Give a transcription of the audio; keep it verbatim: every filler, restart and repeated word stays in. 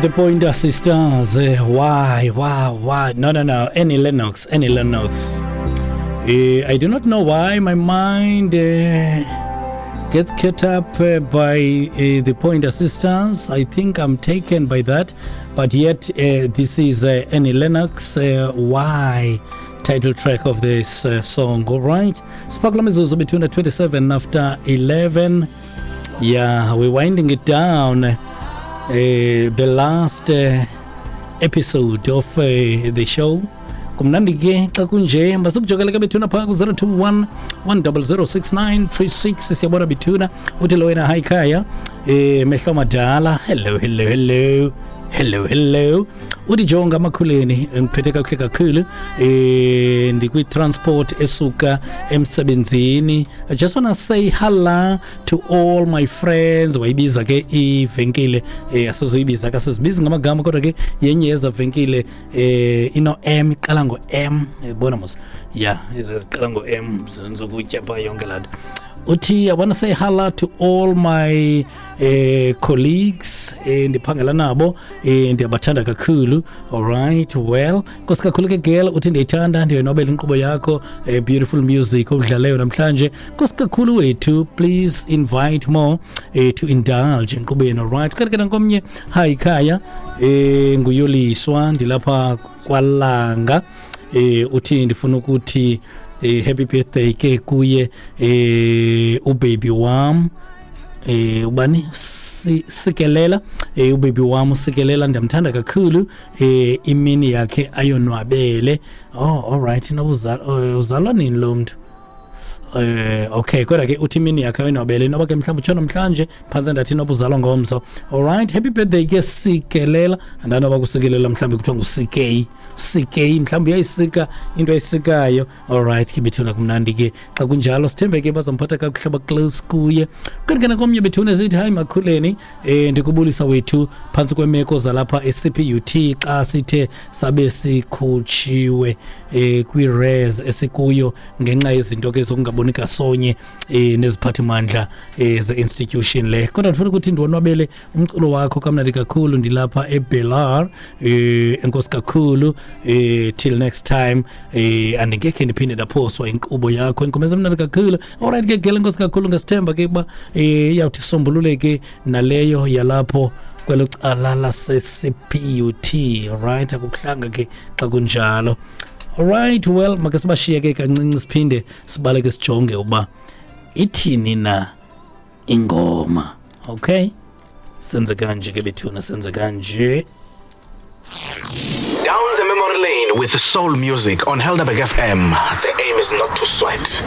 The Pointer Sisters, uh, why, why, why? No, no, no. Annie Lennox, Annie Lennox. Uh, I do not know why my mind uh, gets caught up uh, by uh, the Pointer Sisters. I think I'm taken by that. But yet, uh, this is uh, Annie Lennox, uh, Why, title track of this uh, song. All right. Sparkle mizuzu between the twenty-seven after eleven. Yeah, we're winding it down. Uh, the last uh, episode of uh, the show. Kumnandi ke xa kunje, masukujokele ke bethuna phaa ku-zero two one one double zero six nine three six. Siyabona bethuna, uthi lo wena, hi khaya, eh mehlo madala. Hello, hello, hello, hello, hello. Uthi jonga amakhuleni, ngiphethe kakuhle kakhulu, eh ndikwi-transport esuka emsebenzini. I just wanna say hello to all my friends. Wayibiza ke ivenkile, eh asizoyibiza ke, asizibizi ngamagama, kodwa ke yenye yeza venkile eh ino M, iqala ngo M, yabona mos, yeah, iziqala ngo M, zenza ukutya pha yonke laa nto. Uthi I wanna say hello to all my eh, colleagues eh, ndiphangela nabo, eh, ndiyabathanda kakhulu. All right, well, nkosi kakhulu ke girl. Uthi ndiyayithanda, ndiyonwabela inkqubo yakho, eh, beautiful music obudlaleyo namhlanje. Nkosi kakhulu wethu, please invite more eh, to indulge enkqubeni. All right, kanti ke nankomnye, hi khaya, eh, nguyoliswa, ndilapha kwalanga, eh, uthi ndifuna ukuthi eh, happy birthday ke kuye eh, ubaby wam, eh ubani, si, sikelela, eh ubaby wam usikelela, ndiyamthanda kakhulu, eh imini yakhe ayonwabele. Oh, all right, noba uzalwa nini lo mntu? Eh okay, kodwa ke uthi imini yakhe ayonwabele, noba ke mhlawumbe utsho namhlanje, phantse ndathi noba uzalwa ngomso. All right, happy birthday ke Sikelela. Andanoba kusikelela mhlawumbe kuthiwa ngu-C K, C K mhlawumbe uyayisika into ayisikayo. All right ke bethuna, kumnandi ke xa kunjalo, sithembe ke bazamphatha kakuhle ba-close kuye. Kanti ke nakomnye bethuna sithi hayi makhuleni, eh ndikubulisa wethu phantsi kwemeko zalapha e-C P U T xa sithe sabe sikhutshiwe eh kwi-res esikuyo ngenxa yezinto ke zokungaboni kasonye eh neziphathimandla eh ze-institution le, kodwa ndifuna ukuthi ndiwonwabele umculo wakho kamnandi kakhulu, ndilapha eBelar, eh enkosi kakhulu, eh till next time, eh andingekhe ndiphinde ndaphoswa inkqubo yakho, ingoma ezimnandi kakhulu. Alright ke gele, enkosi kakhulu, ngesithemba ke uba eh iyawuthi isombululeke naleyo yalapho kwelo cala lase-C P U T. Alright, akukuhlanga ke xa kunjalo. Alright, well, make sibashiye ke kancinci, siphinde sibaleke sijonge uba ithini na ingoma. Okay, senze kanje ke bethuna, senze kanje. Down the memory lane with soul music on Helderberg F M. The aim is not to sweat.